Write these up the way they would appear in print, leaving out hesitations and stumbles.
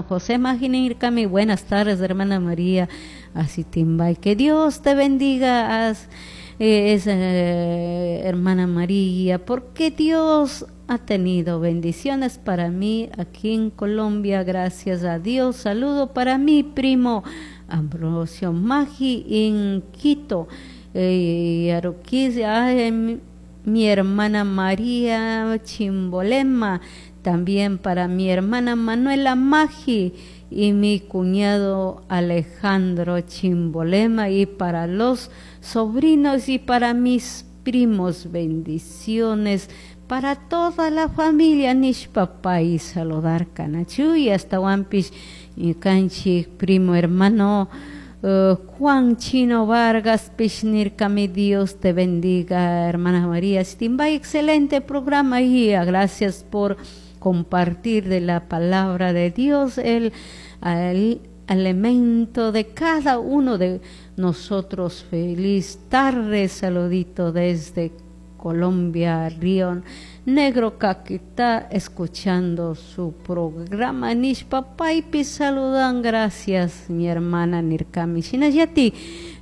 José Maginirkami, buenas tardes, hermana María Asitimbay. Que Dios te bendiga, hermana María, porque Dios ha tenido bendiciones para mí aquí en Colombia. Gracias a Dios. Saludo para mi primo Ambrosio Magi en Quito. Mi hermana María Chimbolema, también para mi hermana Manuela Magi y mi cuñado Alejandro Chimbolema, y para los sobrinos y para mis primos, bendiciones para toda la familia nishpa pay saludar kanachuy. Ashtawanpish ñukanchik primo hermano Juan Chino Vargas pish nirkami: "Dios te bendiga, hermana María Stimbay, excelente programa y gracias por compartir de la palabra de Dios, el alimento de cada uno de nosotros. Feliz tarde, saludito desde Colombia, Río Negro, Caquetá, escuchando su programa" nishpa paypi saludan. Gracias, mi hermana nirkami. Shinallatik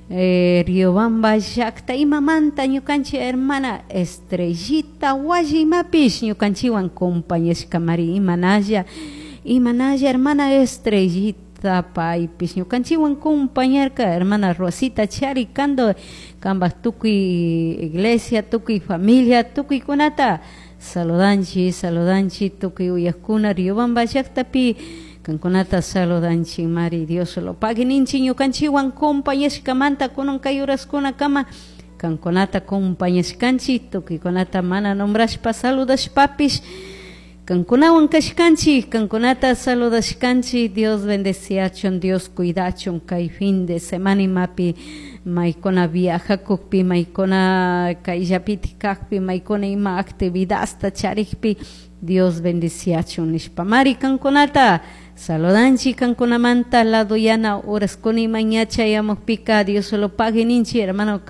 Riobamba llakta imamanta ñukanchik hermana Estrellita Wallimapish ñukanchikwan compañashkamari. Imanalla, imanalla, hermana Estrellita, paypish ñukanchikwan compañarka. Hermana Rosita Charicando, kambaj tukuy iglesia, tukuy familia, tukuykunata saludanchik, saludanchik. Tukuy uyakuna Riobamba llaktapi kankunata saludanchik mari. Dios lo pague ninchik ñukanchikwan compañashkamanta. Kunan kay horaskunakama kankunata compañashkanchik, tukuykunata mana nombrashpa saludashpapish kankunawan kashkanchik, kankunata saludashkanchik. Dios bendeciachun, Dios cuidachun kay fin de semana imapi maykuna viajakukpi, maykuna kayllapitik kakpi, maykuna ima actividadta charikpi, Dios bendeciachun nishpa mari kankunata saludanchik. Kankunamanta laduyana horaskuna ima ña chayamukpika Dios lo pague ninchik. Hermano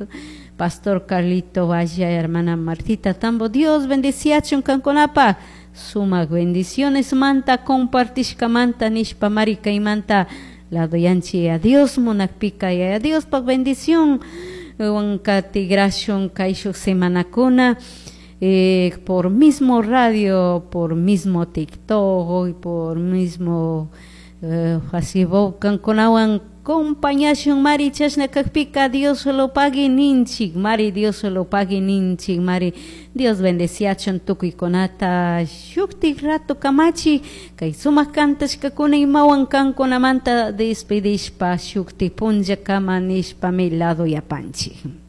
Pastor Carlito Valla, hermana Martita Tambo, Dios bendeciachun kankunapa sumak bendiciones manta compartishkamanta nishpa mari kaymanta laduyanchik. Dios munakpika, Yaya Diospaj bendición wan katigrashun kayshuk semanakuna por mismo radio, por mismo TikTok y por mismo Facebook kankunawan compañashun mari. Chashna kakpika Dios lo pague ninchik mari, Dios lo pague ninchik mari. Dios bendeciachun tukuykunata. Shuktik rato kamachi kay sumak kantashkakuna imawan kankunamanta despedishpa shuktik punlla kama nishpami lado yapanchik.